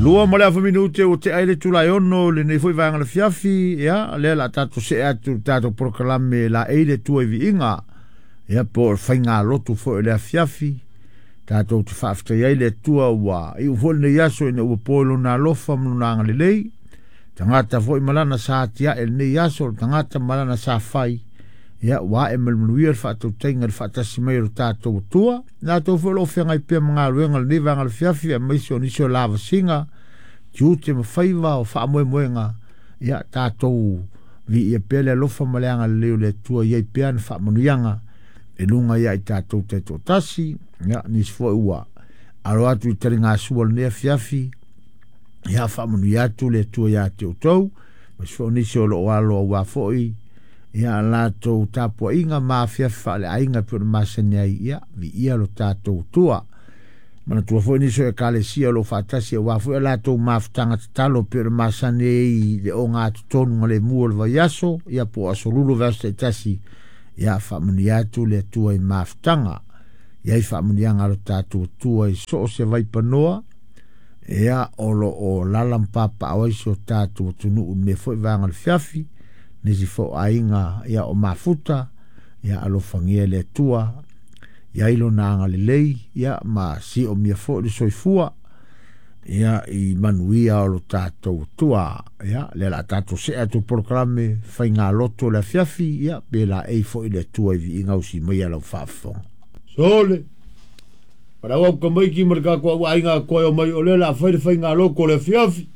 Lua ma le afa minute ua tea ai le itula e 6 i lenei foi vaega o le afiafi, ia, lea o le a tatou see atu i le tatou polokalame laei le Atua i viiga, ia, po o le faigalotu foi o le afiafi. Tatou te faafetai ai le Atua ua iu foi lenei aso ina ua po i lona alofa ma lona agalelei. Tagata foi ma lana sa atiae i lenei aso, o le tagata ma lana sa fai, ia, ua ae ma le manuia le faatautaiga i le faatasi mai o lo tatou Atua. Latou foi o lo o feagai pea ma galuega i lenei vaega o le afiafi, aemaise o nisi o lavasiga, tiute ma faiva o faamoemoega, ia, tatou viia pea le alofa ma le agalelei o le Atua i ai pea ana faamanuiaga e luga ia i tatou taitoatasi. Ia, nisi foi ua alo atu i taligasua o lenei afiafi, ia, faamanuia atu le Atua ia te outou, aemaise foi o nisi o lo o alo aua foi ia latou tapuaiga ma afiafi faaleaiga e pei ona masani ai, ia, viia lo tatou Atua. Manatua foi nisi o ekalesia o lo o faatasi aua foi a latou mafutaga tatalo e pei ona masani ai i le ogatotonu le mu o le vaiaso, ia, po o aso lulu o vaiaso taitasi, ia, faamanuia atu le Atua i mafutaga. Ia i faamanuiaga a lo tatou Atua i so o se vaipanoa, ia, o lo o lala ma papaaao ai si o tatou atunuu i lenei foi vaega o le afiafi, nisi foi o aiga, ia, o mafuta, ia, alofagia le Atua, ia i lona agalelei, ia, ma siomia foi le soifua, ia, i manuia o lo tatou Atua. Ia, lea o le a tatou see atu i polokalame faigalotu o le afiafi, ia, pe laei foi le Atua i viiga usi mai a lau faafofoga. Sole, palau au kamaiki ma le tatou au aiga koe o mai o lea o le a fai le faigalotu o le afiafi.